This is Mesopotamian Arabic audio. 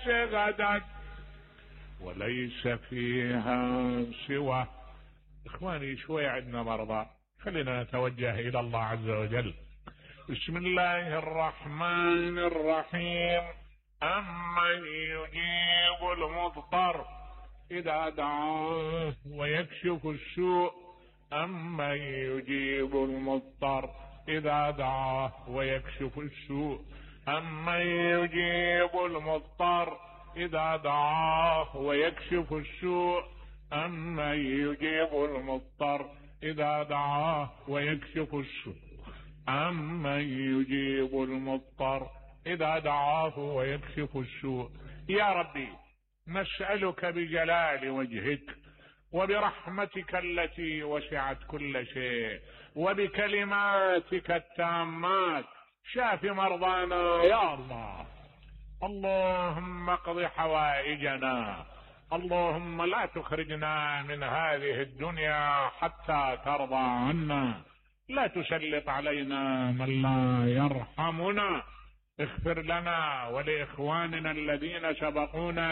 غدا وليس فيها سوى. اخواني شوي عندنا مرضى، خلينا نتوجه الى الله عز وجل. بسم الله الرحمن الرحيم. أمن يجيب المضطر إذا دعاه ويكشف السوء. أمن يجيب المضطر إذا دعاه ويكشف السوء. أمن يجيب المضطر إذا دعاه ويكشف السوء. أمن يجيب المضطر إذا دعاه ويكشف السوء. أمن يجيب المضطر إذا دعاه ويكشف السوء. يا ربي نسألك بجلال وجهك وبرحمتك التي وسعت كل شيء وبكلماتك التامات، شاف مرضانا يا الله. اللهم اقض حوائجنا. اللهم لا تخرجنا من هذه الدنيا حتى ترضى عنا. لا تسلط علينا من لا يرحمنا. اغفر لنا ولإخواننا الذين سبقونا